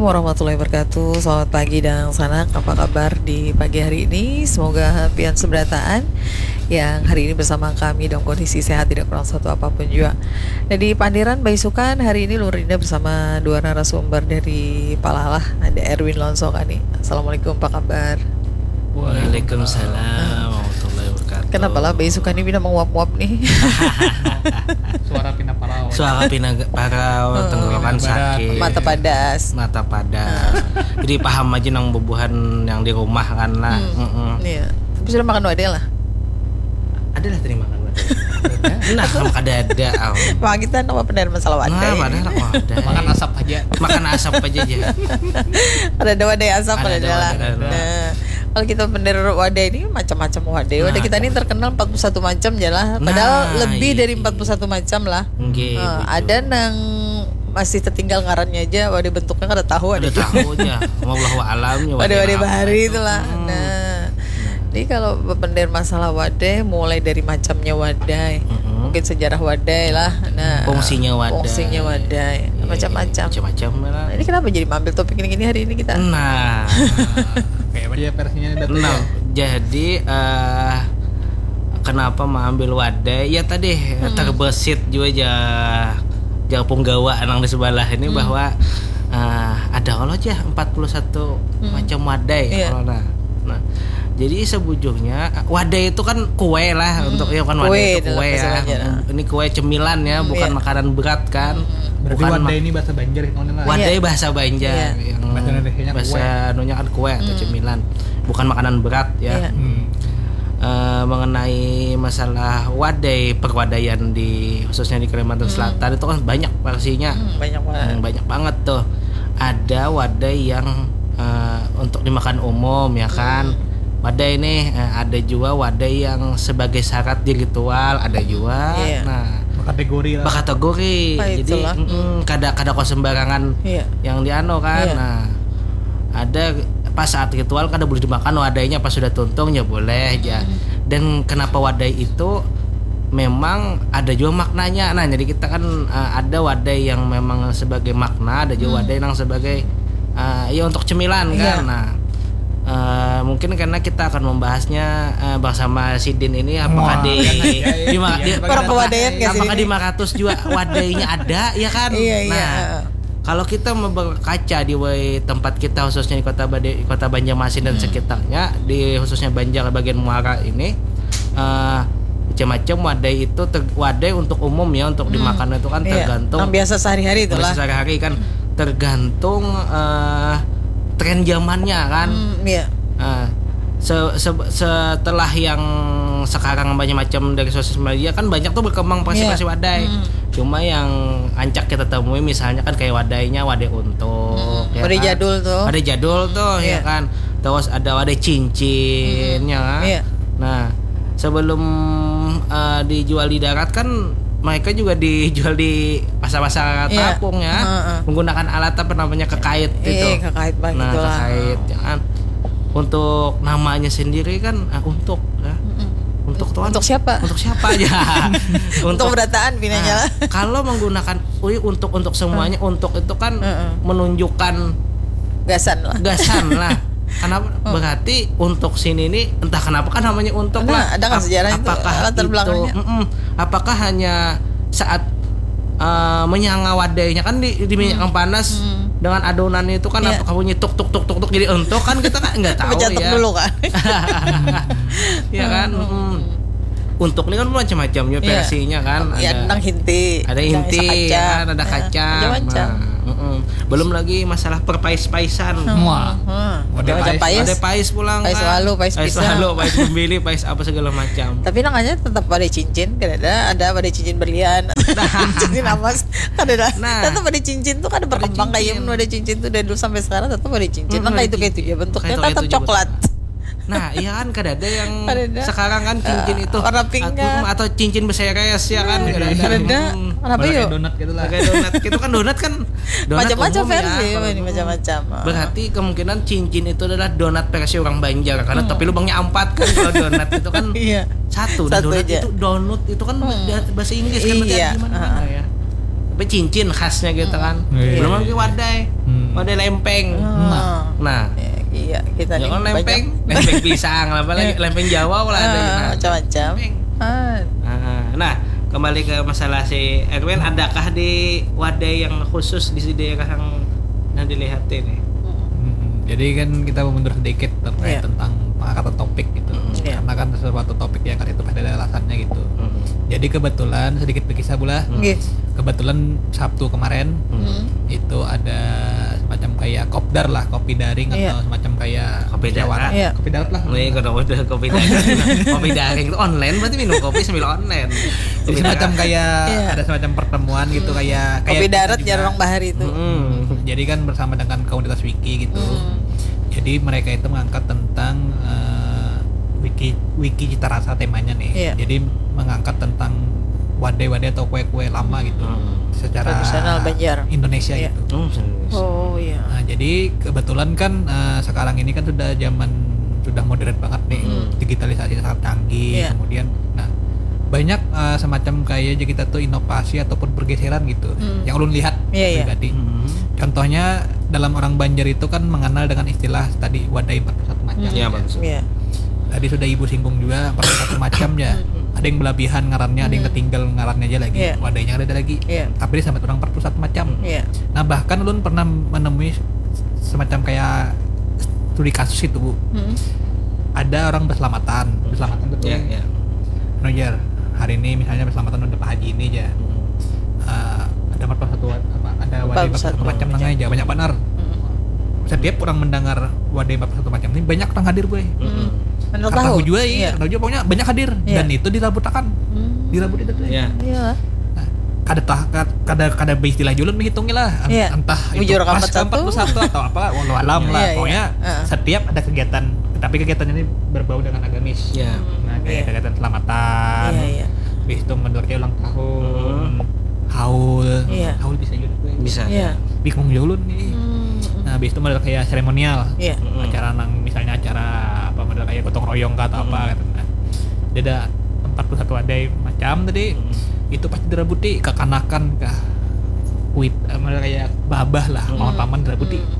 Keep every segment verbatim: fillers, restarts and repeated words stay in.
Warahmatullahi wabarakatuh. Selamat pagi Dang Sanak. Apa kabar di pagi hari ini? Semoga pian seberataan yang hari ini bersama kami dalam kondisi sehat, tidak kurang satu apapun jua. Nah, di Pandiran Baisukan hari ini Lurinda bersama dua narasumber dari Palalah. Ada Erwin Lonsokani. Assalamualaikum, apa kabar? Waalaikumsalam warahmatullahi wabarakatuh. Kenapa lah Baisukan ini pina menguap-nguap nih? Suara pina parau. Suara pina parau, tenggorokan sakit, Mata padas. Mata padas. Jadi paham aja nang bubuhan yang di rumah kan lah. Mm-mm. Iya. Tapi sudah makan wadai lah. Adalah tadi makan wadai. Nah, sama kada ada. Am. Wah, kita nama benar masalah Nah, wadai. Padahal aku wadai. Makan asap aja. Makan asap aja ya. Ada ada wadai asap Ada ada ada jalan. wadai, ada. Nah, kalau kita bener wadai ini macam-macam wadai. Wadai Nah, kita ini terkenal empat puluh satu macam je lah. Padahal Nah, lebih iya. dari empat puluh satu macam lah. Nggih, Eh, betul. Ada nang masih tertinggal ngarannya aja, wadai bentuknya kada tahu ada. Ada tahu aja. Wallahu alam ya. Wadai-wadai apa bahari itu. Itulah. Hmm. Nah, jadi kalau bener masalah wadai, mulai dari macamnya wadai, Mm-mm. mungkin sejarah wadai lah. Nah, Fungsinya wadai. Fungsinya wadai, Iya, macam-macam. Macam-macam lah. Nah, ini kenapa jadi mampil topik ini gini hari ini kita? Nah, Kayak apa ya versinya datang nah, ya? Jadi eh kenapa mengambil wadai? Ya tadi Hmm. terbesit juga ja ja punggawa nang di sebelah ini Hmm. bahwa eh ada kalau aja empat puluh satu Hmm. macam wadai Iya. kalau nah. Nah, jadi sebujurnya eh, wadai itu kan kue lah Hmm. untuk ya kan Kue wadai itu dalam kue bahasa ya. Banjar, ah. Ini kue cemilan ya, Hmm, bukan iya. makanan berat kan. Hmm. Berarti Bukan wadai mak- ini bahasa Banjar itu lah. Wadai Iya. Bahasa Banjar Iya. yang Bahasa Indonesianya bahasa kue. Indonesia kan kue atau Hmm. cemilan. Bukan makanan berat ya. Iya. Hmm. Eh, mengenai masalah wadai, perwadaian di khususnya di Kalimantan Hmm. Selatan itu kan banyak versinya. Hmm, banyak banget. Hmm, banyak banget tuh. Ada wadai yang eh, untuk dimakan umum ya kan. Hmm. Wadai nih eh, ada juga wadai yang sebagai syarat di ritual, ada juga. Iya. Nah, Berkategori lah. Berkategori. Ah, Jadi itulah. mm, kada kada kau sembarangan Iya. yang dianu kan. Iya. Nah, ada pas saat ritual kada boleh dimakan wadainya, pas sudah tuntung ya boleh aja. Hmm. Dan kenapa wadai itu memang ada juga maknanya. Nah, jadi kita kan uh, ada wadai yang memang sebagai makna, ada juga Hmm. wadai yang sebagai uh, ya untuk cemilan Iya. Kan. Nah, uh, mungkin karena kita akan membahasnya uh, bersama Sidin ini apakah Wah, di iya, iya, di ma- iya, di- iya. Orang pewadaian nggak apakah Sidin? Di Maratus juga wadainya ada ya kan. Iya, iya. Nah, kalau kita mau berkaca di wai tempat kita khususnya di kota Bade, kota Banjarmasin dan Hmm. Sekitarnya, di khususnya Banjar bagian muara ini eh, macam-macam wadai itu ter- wadai untuk umum ya untuk Hmm. Dimakan itu kan Iya. Tergantung Yang biasa sehari-hari itulah. Sehari-hari kan tergantung eh, tren zamannya kan. Hmm, iya. Nah, se- se- setelah yang sekarang banyak macam dari sosial media kan banyak tuh berkembang versi-versi Iya. Wadai. Hmm. Cuma yang ancak kita temui misalnya kan kayak wadainya wadai untuk, Hmm, ya wadai kan? Jadul tuh. Wadai jadul tuh, ya Iya. Kan? Terus ada wadai cincin, ya. Iya. Nah, sebelum uh, dijual di darat kan mereka juga dijual di pasar-pasar Iya. Terapung ya, Heeh. Menggunakan alat apa namanya kekait itu. Iya, kekait, Bang, Nah, itulah. Kekait, ya kan. Untuk namanya sendiri kan uh, untuk ya. Mm-mm. Untuk tuan. Untuk siapa? Untuk siapa aja? Untuk berataan pinanya Nah, lah. Kalau menggunakan ui untuk untuk semuanya untuk itu kan Heeh. Menunjukkan Gasan lah. Gasan lah. Kenapa? Berarti untuk sini ini entah kenapa kan namanya untuk Nah, lah. ada kan Ap- sejarah itu, apakah latar itu, belakangnya. Mm-mm. Apakah hanya saat eh, menyanga wadainya kan di, di minyak yang panas Hmm. dengan adonannya itu kan Iya. Apakah bunyi tuk tuk tuk tuk tuk jadi untuk kan kita kan nggak tahu Pecatuk ya. Dulu kan. Ya kan. Mm-mm. Untuk ini kan macam-macamnya Iya. Versinya kan. Ya, Ada- nang hinti, ada nang inti isa kaca. Ya kan, ada Nah, kaca. macam-macam. Nah, mm-mm. Belum lagi masalah perpais-paisan. Wah. Hmm. Wadai Ada pais. pais. Ada pais pulang Pais kan. walu, pais Pais pisang. Walu, pais bumbili, pais apa segala macam. Tapi namanya tetap wadai cincin, kan ada, ada wadai cincin berlian, cincin emas, kan ada. Nah. Tetap wadai cincin tuh kan berkembang Wadai kayak cincin. Wadai cincin tuh dari dulu sampai sekarang tetap wadai cincin. Mm, Nah, kayak wadai itu kayak itu cincin. ya bentuknya Kayak itu, tetap kayak itu juga. Coklat. Nah, iya kan kada ada yang Kada ada. Sekarang kan cincin Eh, itu warna pink at- kah? mm, atau cincin berseres ya kan. Kada ada. Kada ada. Kenapa Kayak yuk? Donat gitu lah. Kayak donat. Itu kan donat kan. Donat Macam-macam umum ya, versi, kalau ini umum. Macam-macam. Ah. Berarti kemungkinan cincin itu adalah donat versi orang Banjar karena Hmm. tapi lubangnya empat kan kalau donat itu kan Iya. Satu, dan Satu donat aja. Itu donut itu kan Hmm. bahasa Inggris kan berarti Iya, gimana heeh. Ya. Tapi cincin khasnya gitu kan. Iya. Belum lagi wadai. Hmm. Ada lempeng. Ah. Nah, Ya, iya, kita ya nih kan banyak. Lempeng, lempeng pisang lah, apalagi lempeng Jawa lah ada. Ah, Nah, macam-macam. lempeng. Ah. Ah, nah, kembali ke masalah si Erwin, adakah di wadai yang khusus di daerah yang yang dilihat ini? Hmm, jadi kan kita mundur sedikit terkait Iya. tentang pengangkatan topik gitu. Hmm. Iya. Karena kan sesuatu topik yang itu pasti ada alasannya gitu. Hmm. Jadi kebetulan sedikit berkisah pula. Hmm. Nggih. Kebetulan Sabtu kemarin Hmm. itu ada semacam kayak kopdar lah, kopi daring Iya. atau semacam kayak Kopi darat. musyawarah. Iya. Kopi darat lah. Ini kalau udah kopi daring, kopi daring itu online, berarti minum kopi sambil online. Jadi semacam kayak Iya. ada semacam pertemuan gitu, kayak kayak Kopi kita darat juga. Jarang bahari itu. Hmm. Jadi kan bersama dengan komunitas Wiki gitu. Hmm. Jadi mereka itu mengangkat tentang eh, wiki wiki cita rasa temanya nih. Iya. Jadi mengangkat tentang wadai-wadai atau kue-kue lama gitu. Hmm. Secara Tradisional Banjar. Indonesia Iya. gitu. Oh, serius. Oh iya. Nah, jadi kebetulan kan eh, sekarang ini kan sudah zaman sudah modern banget nih. Hmm. Digitalisasi sangat canggih. Iya. Kemudian nah banyak eh, semacam kayak aja kita tuh inovasi ataupun pergeseran gitu. Hmm. Yang ulun lihat Iya, iya. pribadi. Hmm. Contohnya dalam orang Banjar itu kan mengenal dengan istilah tadi wadai empat puluh satu macam. Hmm. Iya, bagus. Iya. Tadi sudah ibu singgung juga empat puluh satu macam ya. Ada yang belabihan ngarannya, ada yang Hmm. ketinggal ngarannya aja lagi. Iya. Wadainya ada lagi. Iya. Tapi disambat orang empat puluh satu macam. Iya. Nah, bahkan ulun pernah menemui semacam kayak studi kasus itu, Bu. Hmm. Ada orang berselamatan, berselamatan betul. Iya, iya. Anu, Jar, hari ini misalnya berselamatan ada Pak Haji ini aja. Hmm. Eh, ada empat puluh satu wa- apa ada wadai empat puluh satu Empat puluh satu macam nang macam. aja banyak banar. Hmm. Setiap orang mendengar wadai empat puluh satu macam ini banyak orang hadir, boy. Hmm. Menurut Orang tahu. Tahu juga iya, Iya. Orang Tahu juga pokoknya banyak hadir Iya. Dan itu dirabutakan. Hmm. Dirabutakan itu. Iya. Iya. Nah, kada tah kad- kada kada beristilah julun menghitungi lah. Ent- Iya. Entah itu Bujur ka pas empat ke satu. empat puluh satu atau apa, wallahu alam lah. Iya, iya. Pokoknya Heeh. setiap ada kegiatan, tapi kegiatan ini berbau dengan agamis. Iya. Nah, kayak Iya. kegiatan selamatan, Iya, iya. Habis itu menurutnya ulang tahun, Hmm. haul, Iya. haul bisa juga. Bisa. Iya. Bingung juga ulun nih. Hmm. Nah, habis itu model kayak seremonial. Iya. Mm-mm. Acara nang misalnya acara apa model kayak gotong royong kah atau apa Mm-mm. gitu. Nah, dia ada empat puluh satu wadai macam tadi. Mm-mm. Itu pasti dirabuti kekanakan kah. Kuit eh, model kayak babah lah, Mm-mm. mau paman dirabuti. Hmm.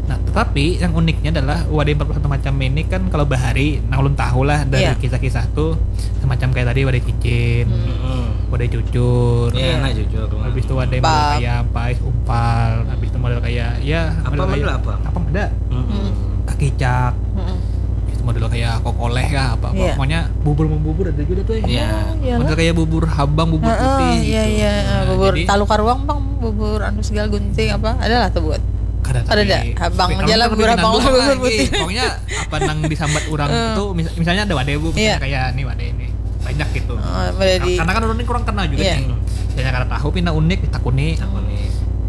Nah, tetapi yang uniknya adalah wadai empat puluh satu macam ini kan kalau bahari, nah ulun tahu lah dari Iya. Kisah-kisah tuh semacam kayak tadi wadai cincin, Hmm. Mm-mm. wadai cucur. Iya, nah, jujur. Habis itu wadai Umpal. Model kayak apa, is umpal. Habis itu model kayak ya Apa model model kayak apa? Apa ada? Mm-mm. Kakicak. Mm-mm. Habis itu model kayak kokoleh kah apa, apa. Iya. Pokoknya bubur membubur ada juga tuh. Iya. Oh, iya Model lah. Kayak bubur habang, bubur Heeh, putih iya, gitu. Iya, Nah, bubur jadi talu karuang bang, bubur anu segala gunting apa, adalah tuh buat. Kada Ada tapi- dah, habang tapi aja orang lah, kan bubur lebih habang, nanggung bubur lagi. Putih. Pokoknya apa nang disambat orang Eh. itu mis- misalnya ada wadai, Bu, misalnya Iya. Kayak ini wadai ini banyak gitu. Oh, boleh di- Karena kan orang ini kurang kenal juga Iya. nih. Misalnya kada tahu pina unik ditakuni. Takuni.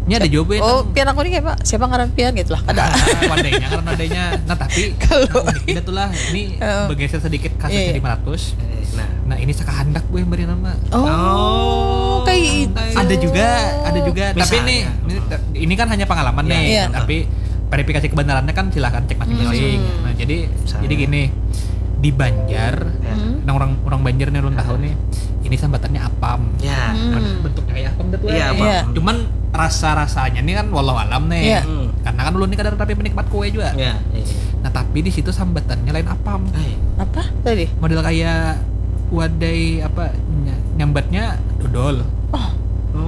Ini ada juga ya. Oh, pian aku nih kayak Pak, siapa ngaran pian gitu lah. Ada. Wadainya karena wadainya. Nah, tapi Kalau- nah, unik itulah ini Heeh. Bergeser sedikit kasusnya Iya, iya. lima ratus. Eh, nah. Nah, ini sakahandak gue beri nama. Oh, Oh. kayak itu. Ada juga, ada juga. Tapi Misalnya. nih, ini, ini kan hanya pengalaman Iya, nih. iya. Tapi verifikasi kebenarannya kan silahkan cek masing-masing. Hmm. Nah, jadi Misalnya. jadi gini, di Banjar, Ya. Hmm. nah orang orang Banjar nih ulun tahu nih, ini sambatannya apam. Ya. Hmm. Bentuknya kayak apam tuh. Iya, Eh. apam. Iya. Cuman rasa-rasanya nih kan walau alam nih. Iya. Hmm. Karena kan ulun ini kadang tapi penikmat kue juga. Ya, iya. Nah, tapi di situ sambatannya lain apam. Eh. Apa tadi? Model kayak wadai apa ny- nyambatnya dodol. Oh.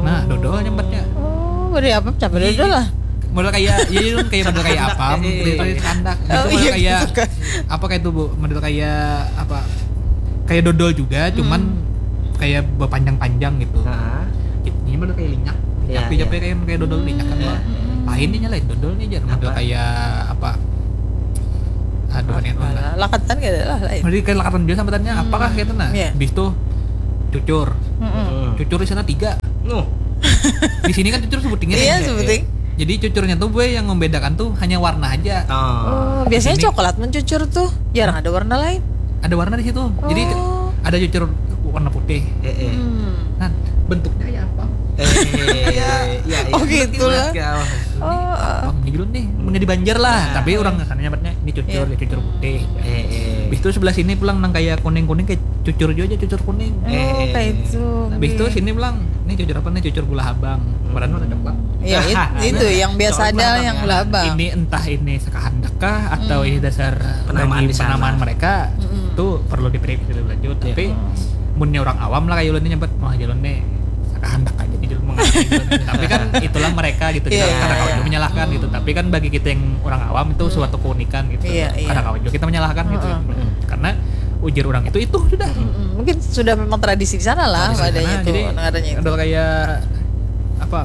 Nah, dodol nyambatnya. Oh, wadai apa? Campur Iya. Dodol lah. Model kayak iya iya, kayak model kayak Sakahandak, apam, eh, eh, gitu eh. Sakahandak. Oh, Itu model iya, kayak gitu kan. Apa kayak itu, Bu? Model kayak apa? Kayak dodol juga, cuman Hmm. kayak berpanjang-panjang gitu. Ah. Ini model kayak linyak. Linyak Iya, dia iya. Kayak kayak dodol linyak kan, Iya. Pak. Lain ini lain dodol nih, jangan model Apa? kayak apa? Aduh, ini Alah, lakatan gak ada lah lain. Jadi kayak lakatan juga sambatannya Hmm. Apakah gitu nah? Iya. Habis itu cucur. Mm-mm. Hmm. Cucur di sana tiga. Nuh. Di sini kan cucur sebutingnya Iya, nih. sebuting. Jadi cucurnya tuh gue yang membedakan tuh hanya warna aja. Oh. Oh, biasanya Ini- coklat mencucur tuh, jarang ada warna lain. Ada warna di situ. Jadi Oh. ada cucur warna putih. Eh, eh. Hmm. Nah, bentuknya kayak apa? Eh, iya, iya. Oh, gitu lah. Ingat gak? Oh, Apa ini dulu nih? Punya di Banjar lah. Nah. Tapi orang sana nyambatnya ini cucur, Iya. ya cucur putih. Eh, eh. Habis itu sebelah sini pulang nang kayak kuning-kuning kayak cucur juga aja, cucur kuning. Oh, Eh, eh. Kayak itu. Habis itu sini pulang ini cucur apa nih, cucur gula habang, padahal warna coklat. Ya, it- itu yang biasa ada yang gula habang. Ini entah ini sakahandak kah atau ini dasar Penamaan bagi di sana. Penamaan mereka, itu perlu diperiksa lebih lanjut. Tapi munnya orang awam lah, kayak ulun nyambat, wah, jalur nih sakahandak aja nih, jalur mengalami jalur nih. Tapi kan itulah mereka gitu, kita Iya, kada kawa iya. juga menyalahkan gitu. Tapi kan bagi kita yang orang awam itu suatu keunikan gitu. Iya, iya. Kada kawa juga kita menyalahkan gitu. Karena ujar orang itu itu sudah. Mm, mungkin sudah memang tradisi di sana lah, Tradisi wadahnya sana. itu, Jadi, ngarannya itu. Ada kayak apa,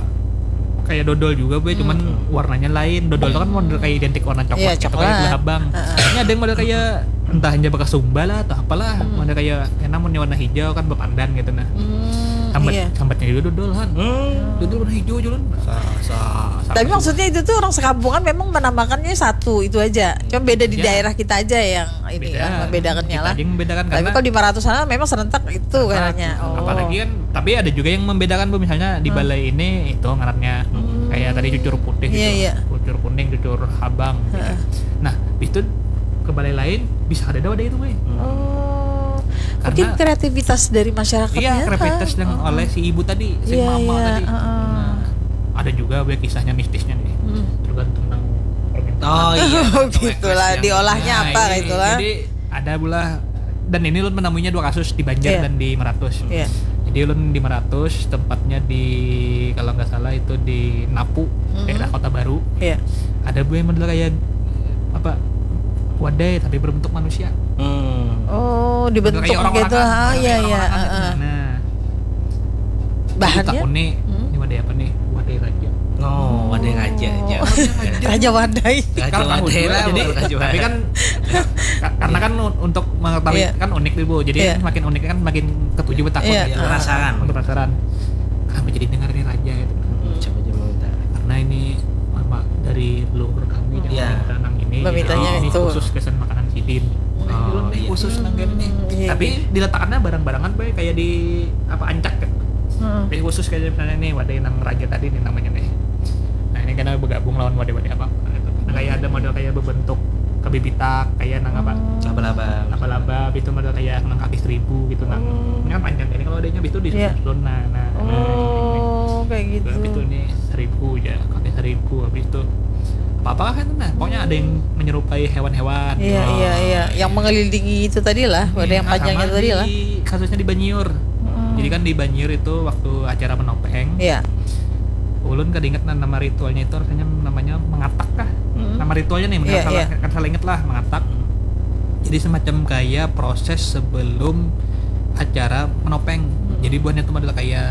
kayak dodol juga, Boy, cuman warnanya lain. Dodol itu kan model kayak identik warna coklat Iya, gitu, coklat. Kayak gula habang. Ini ada yang model kayak entah hanya bekas sumba lah atau apalah, model kayak enak, munnya warna hijau kan bepandan gitu nah. Hmm, Sambat, iya. Sambatnya juga dodol kan. Dodol warna hijau, jalan. Sa, sa, sa- Tapi maksudnya itu tuh orang sekampungan memang menamakannya satu itu aja. Cuma beda di Iya. Daerah kita aja yang ini Beda. lah, membedakannya Kita lah. aja yang membedakan Tapi karena kalau di Maratus sana memang serentak itu kayaknya. Oh. Apalagi kan, tapi ada juga yang membedakan, Bu, misalnya di balai ini itu ngarannya kayak tadi cucur putih Iya, gitu. Iya. Cucur kuning, cucur habang gitu. Nah, itu ke balai lain bisa ada wadah itu, Boy. Oh. Mungkin Karena- kreativitas dari masyarakatnya. Iya, kreativitas yang oleh si ibu tadi, si Iya, mama iya, tadi. Heeh. Nah, ada juga, Boy, kisahnya mistisnya nih. Hmm. Tergantung nang permintaan. Oh iya. Oh, gitulah, diolahnya Nah, apa ini- itulah. Jadi ada pula, dan ini ulun menemuinya dua kasus di Banjar Iya. Dan di Meratus. Iya. Jadi ulun di Meratus, tempatnya di, kalau nggak salah itu di Napu, Mhm. Daerah Kota Baru. Iya. Ada, Boy, yang model kayak apa, wadai tapi berbentuk manusia. Hmm. Oh, dibentuk Model kayak gitu. orang-orangan, Ah, model iya, kayak iya. orang-orangan. Heeh. Nah, Bahannya? Ditakuni, Hmm. ini wadai apa nih? Wadai raja. Oh, wadai raja aja. Raja wadai. Raja Karena wadai tahu lah, jadi, bukan raja tapi wadai. Kan ka- karena kan un- untuk mengetahui Iya. Kan unik nih, Bu. Jadi Iya. Semakin unik kan makin ketuju betakun Iya. gitu. Penasaran. Makin penasaran. Kenapa jadi dengar ini raja gitu? Siapa aja mau minta? Karena ini mama dari leluhur kami yang Iya. minta nang ini. Memintanya Ini itu. Khusus kesan makanan sidin. Oh, Ini iya. Khusus nang kayak ini. Hmm, iya, Tapi diletakkannya barang-barangan, Boy, kayak di apa, ancak gitu. Heeh. Jadi khusus kayak misalnya nih wadai nang raja tadi nih namanya nih. Nah, ini karena bergabung lawan wadai-wadai apa gitu. Nah, kayak ada model kayak berbentuk kabibitak, kayak nang apa? Laba-laba. Laba-laba, itu model kayak nang kaki seribu gitu, nang. Oh. Ini kan panjang, jadi kalau wadainya itu di Iya. susun, nah, nah. Oh, kayak gitu. Habis itu ini seribu aja, kaki seribu, habis itu apa-apa kan, nah, pokoknya ada yang menyerupai hewan-hewan. Iya, Oh. Iya, iya. Yang mengelilingi itu tadi lah, wadai yang Nah, panjangnya sama tadi di lah. Kasusnya di Banjur. Mm-mm. Jadi kan di Banjur itu waktu acara menopeng, Iya. ulun kada ingat nah nama ritualnya itu, rasanya namanya mengatak kah? Mm-mm. Nama ritualnya nih, Iya, salah, iya. kan salah ingat lah, mengatak. Jadi semacam kayak proses sebelum acara menopeng. Jadi buhannya itu adalah kayak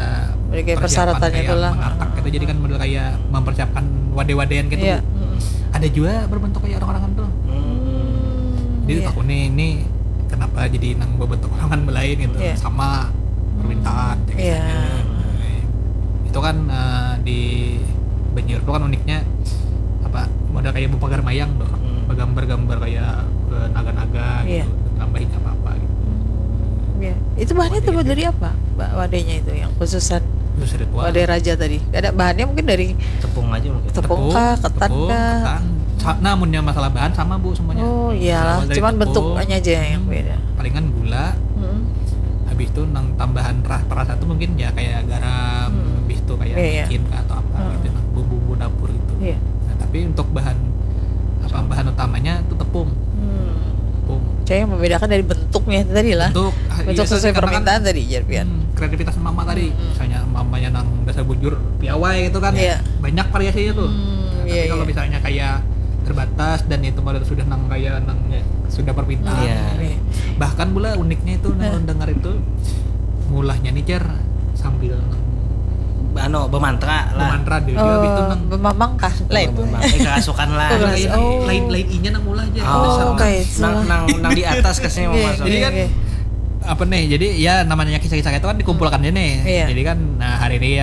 Jadi kayak persiapan persyaratannya kayak itulah. Mengatak gitu, jadi kan model kayak mempersiapkan wadai-wadaian gitu. Iya. Ada juga berbentuk kayak orang-orang tuh. Hmm, Jadi iya. Takuni ini kenapa jadi nang berbentuk orang kan belain gitu, Iya. Sama permintaan, ya, Iya. misalnya. Itu kan eh, di Banjir itu kan uniknya apa, model kayak bupagar mayang tuh, Hmm. Begambar-gambar kayak eh, naga-naga Iya. Gitu, tambahin apa-apa gitu. Iya. Itu bahannya Wadai terbuat itu. Dari apa, Mbak, wadainya itu yang khususan Khusus ritual. Wadai raja tadi? Ada bahannya mungkin dari Tepung aja mungkin. tepung kah, ketan tepung, kah? Ketan. Sa- nah, munnya masalah bahan sama, Bu, semuanya. Oh, iyalah, Berawal dari cuman tepung. Bentuknya aja yang beda. Palingan gula. Hmm. Habis itu nang tambahan ra- perasa tuh mungkin ya kayak garam, Hmm. Habis itu kayak Iya, iya. micin kah atau apa Hmm. Gitu, nah, bumbu-bumbu dapur itu. Iya. Nah, tapi untuk bahan apa, bahan utamanya itu tepung. Hmm. Tepung. Saya membedakan dari bentuknya tadi lah. Bentuk, ah, Bentuk iya, sesuai karena kan, permintaan tadi, Jar Pian. Hmm, kreativitas mama tadi. Hmm. Misalnya mamanya nang dasar bujur piawai gitu kan. Iya. Banyak variasinya tuh. Hmm, Nah, iya, tapi kalau iya. Misalnya kayak terbatas dan itu model sudah nang kayak nang sudah permintaan. Iya. Iya. Bahkan pula uniknya itu nang Nah. Ulun dengar itu mulahnya nih, Jar, sambil Anu, bermantra lah. Bermantra dia, dia Oh, habis itu nang bermamang kah? Lain. Bermamang. Eh, kerasukan lah. Keras. Oh. Lain, lain inya nang mulah aja. Oh, Dasar nang- kayak itu. Nang nang nang di atas kasih mau Iya, masuk. Jadi kan Iya. Apa nih? Jadi ya namanya kisah-kisah itu kan dikumpulkan aja nih. Iya. Jadi kan nah hari ini ya